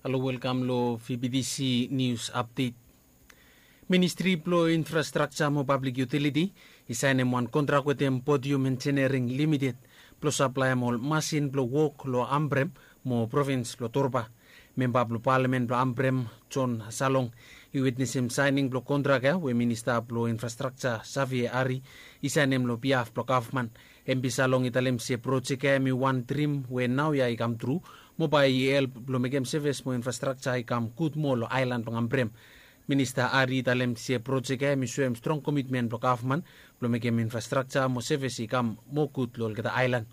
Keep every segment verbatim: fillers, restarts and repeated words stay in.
Halo, welkam long V B T C News Update. Ministri blong Infrastrakja mo Pablik Yutiliti i saenem wan kontrak wetem Podium Engineering Limited blong saplaem ol masin blong wok long Ambrem mo provins blong Torba. Memba blong palamen blong Ambrem, John Salong, i witnesem saening blong kontrak ya we Minista blong Infrastrakja, Xavier Ari, i saenem long biaf blong gavman. Em Salong i talem se projek ya hemi wan drim we naoia i kamtru, mo bae i help blong mekem sevis mo infrastrakja i kam gud moa long aelan blong Ambrem. Minista Ari i talem se projek ya hemi soem strong komitmen blong gavman blong mekem infrastrakja mo sevis i kam moa gud long olgeta aelan.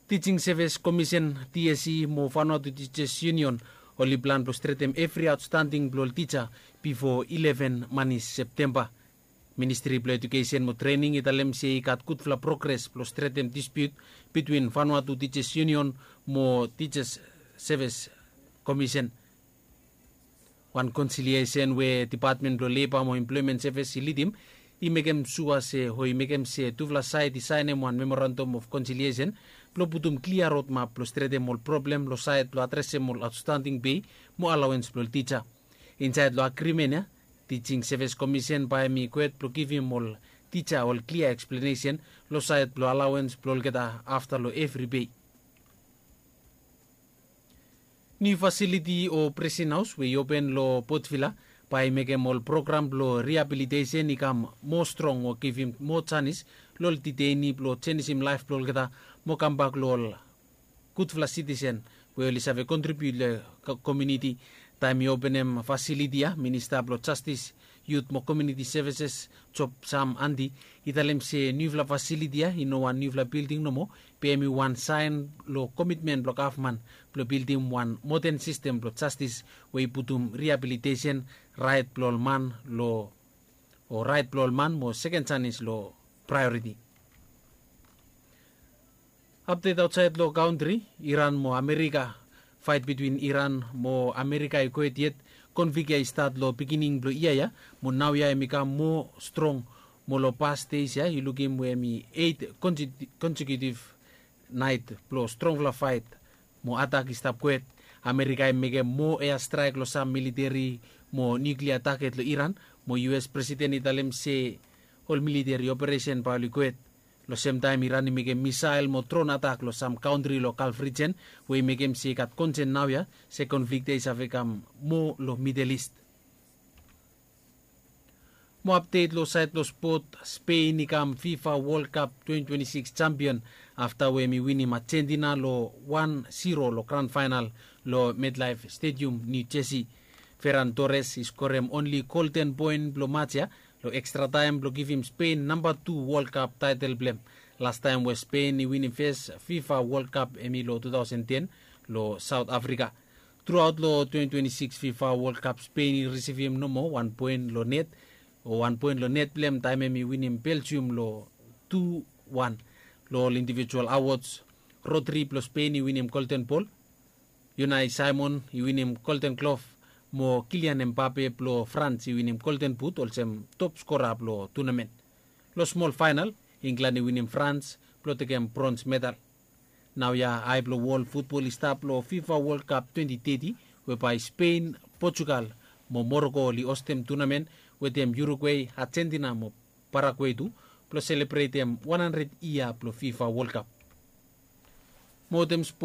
Teaching Service Commission, T S C, mo Vanuatu Teachers Union oli plan blong stretem evri aotstanding blong ol tija bifo ileven manis Septemba. Ministri blong Ejukesen mo Trening i talem se i gat gudfala progres blong stretem dispiut bitwin Vanuatu Teachers Union mo Teachers Service Commission. Wan konsiliesen we Depatmen blong Leba mo Emploemen Sevis i lidim i mekem sua se, o i mekem se tufala saed i saenem wan memorandum of konsiliesen blong putum klia rodmap blong stretem ol problem long saed blong adresem ol aotstanding pei mo alaoens blong ol tija. Insaed long agrimen ya, Teaching Service Commission bae hemi gohed blong givim ol tija ol klia eksplenesen long saed blong alaoens blong olgeta afta long evri pei. Niu fasiliti o Presen Haos we i open long Port Vila bae i mekem ol program blong riabilitesen i kam moa strong o givim moa janis long ol diteini blong jenisim laef blong olgeta mo kambak long ol gudfala sitisen we oli save kontribiut long komuniti. Taem i openem fasiliti ya, Minista blong Jastis, Yut mo Komuniti Sevises, Job Sam Andi, i talem se niufala fasiliti ya i no wan niufala bilding nomo, be hemi wan saen long komitmen blong gavman blong bildim wan moden sistem blong jastis we i putum riabilitesen, raet blong ol man long o raet blong ol man mo seken janis long praeoriti. Apdet aotsaed long kantri, Iran mo Amerika. Faet bitwin Iran mo Amerika i gohed yet. Konflik ya i stat long beginning blong yia ya, mo naoia hemi kam moa strong. Mo long pas deis ya i lukim we hemi eit konsekiutif naet blong strongfala faet mo atak i stap gohed. Amerika i mekem moa ea straek long sam militeri mo niuklia taget long Iran, mo U S presiden i talem se ol militeri operesen bae oli gohed. Long semtaem Iran i mekem misael mo dron atak long sam kantri long Galf rijen, we i mekem se i gat konsen naoia se konflik ya i save kam moa long Midel Ist. Mo apdet long saed blong spot, Spen i kam FIFA World Cup twenty twenty-six jampion afta we hemi winim Ajentina long wan zero long gran faenal long MetLife Stadium, New Jersey. Ferran Torres i skorem onli golden poen blong maj ya long ekstra taem blong givim Spen namba tu World Cup taetel blong hem. Lastaem we Spen i winim fes FIFA World Cup hemi long two thousand ten long Saot Afrika. Truaot long twenty twenty-six FIFA World Cup, Spen i risivim nomo wan poen long net, o wan poen long net blong hem taem hemi winim Belgium long tu wan. Long ol indivijual awods, Rodri blong Spen i winim Golden Bol, Unai Simon i winim Golden Glove, mo Kylian Mbappe blong Frans i winim Golden Boot olsem top skora blong tunamen. Long smol faenal, Inglan i winim Frans blong tekem brons medal. Naoia ae blong wol futbol i stap long FIFA World Cup twenty thirty, we bae Spen, Portugal mo Moroko oli ostem tunamen wetem Urugwe, Ajentina mo Paragwe tu, blong selebretem wan handred yia blong FIFA World Cup. Mo wetem spot